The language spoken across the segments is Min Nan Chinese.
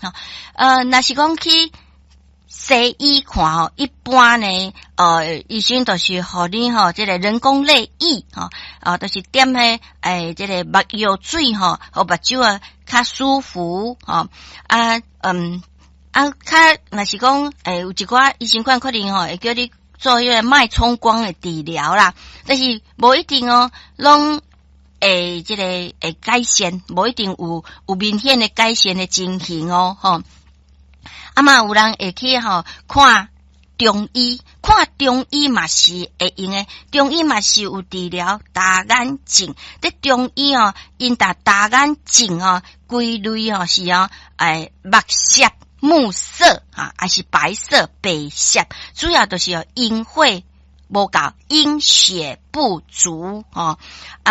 吼。若是講去西醫看吼，一般呢，醫生就是予你吼，這个人工淚液吼，啊，就是點彼這个目藥水吼，予目睭啊較舒服吼，啊，啊，較若是講，有一寡醫生款可能吼，會叫你做彼个脈衝光的治療啦，但是無一定哦，攏會這个會改善，無一定有明顯的改善的情形哦，吼。啊嘛，有人會去吼看中醫，看中醫嘛是會用的，中醫嘛是有治療乾眼症。佇中醫哦，𪜶逐乾眼症哦，歸類哦是哦，目澀、目澀啊，還是白色白澀，主要就是哦陰血無夠，陰血不足吼。這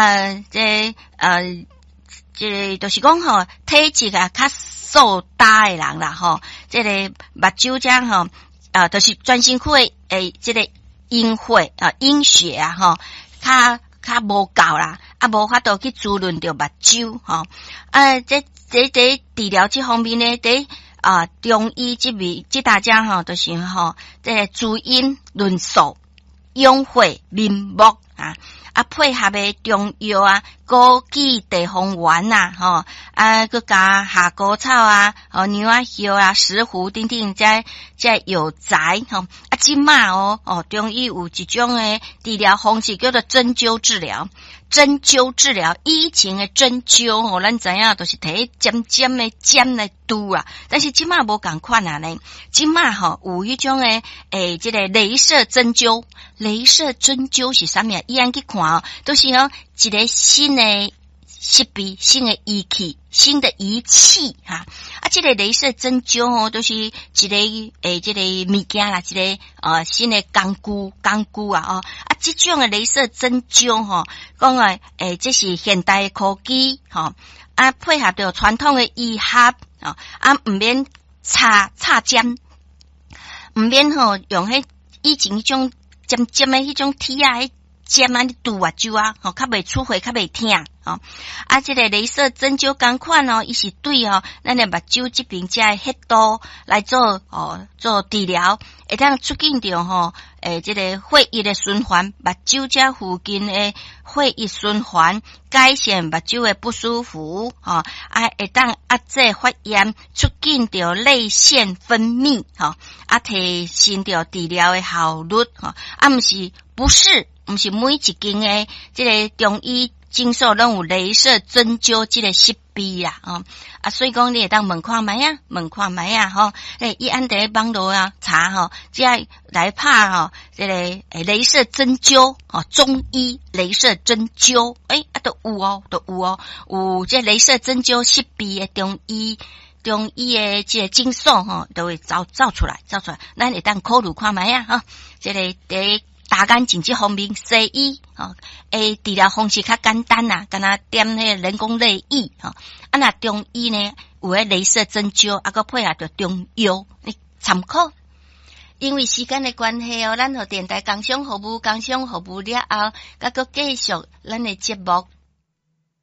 個就是講吼，體質啊較瘦焦的人啦吼，這个目睭遮吼，啊，就是全身軀的這个陰血啊，陰血啊吼，較較無夠啦，啊，無法度去滋潤著目睭吼。啊，這治療這方面呢，佇啊中醫這邊這大家吼，就是吼，這个滋陰潤燥、養血明目啊。啊，配合的中藥啊，枸杞地黃丸啊，吼，啊，閣加夏枯草啊，吼，娘仔葉啊，石斛等等，這藥材吼。啊，這馬哦，哦，中醫有一種的治療方式叫做針灸治療。針灸治療，以前的針灸吼，咱知影就是提尖尖的針來拮啊，但是這馬無仝款啊呢。這馬吼有彼種的，這个雷射針灸，雷射針灸是啥物啊？伊按去看哦，都是哦一个新的設備、新的儀器、新的儀器哈。啊，這个雷射針灸哦，都是一个這个物件啦，一个新的工具工具啊哦。啊，這種的雷射針灸吼，講啊，這是現代的科技吼，啊，配合著傳統的醫學哦，啊，毋免插插針，毋免吼用彼以前彼種尖尖的彼種鐵仔彼針按呢拮目睭啊，吼，較袂出血，較袂疼吼。啊，這个雷射針灸仝款哦，伊是對吼咱的目睭這邊遮的穴道來做哦做治療，會當促進著吼這个血液的循環，目睭遮附近的血液循環，改善目睭的不舒服吼，啊，會當壓制發炎，促進著淚腺分泌吼，啊，提升著治療的效率吼，啊，毋是不是。毋是每一間的這个中醫診所攏有雷射針灸這个設備啦，吼啊，所以講你會當問看覓啊，問看覓啊，吼，伊按佇網路啊查吼，這來拍吼，這个雷射針灸吼，中醫雷射針灸，啊，都有哦，都有哦，有這雷射針灸設備的中醫。中醫的這个診所吼，都會走走出來，走出來，咱會當考慮看覓啊，吼，這个佇乾眼症這方面，西醫吼，治療方式較簡單啦，敢若點彼个人工淚液吼，啊，若中醫呢，有彼雷射針灸，啊，閣配合著中藥，你參考。因為時間的關係哦，咱予電台工商服務，工商服務了後，閣閣繼續咱的節目。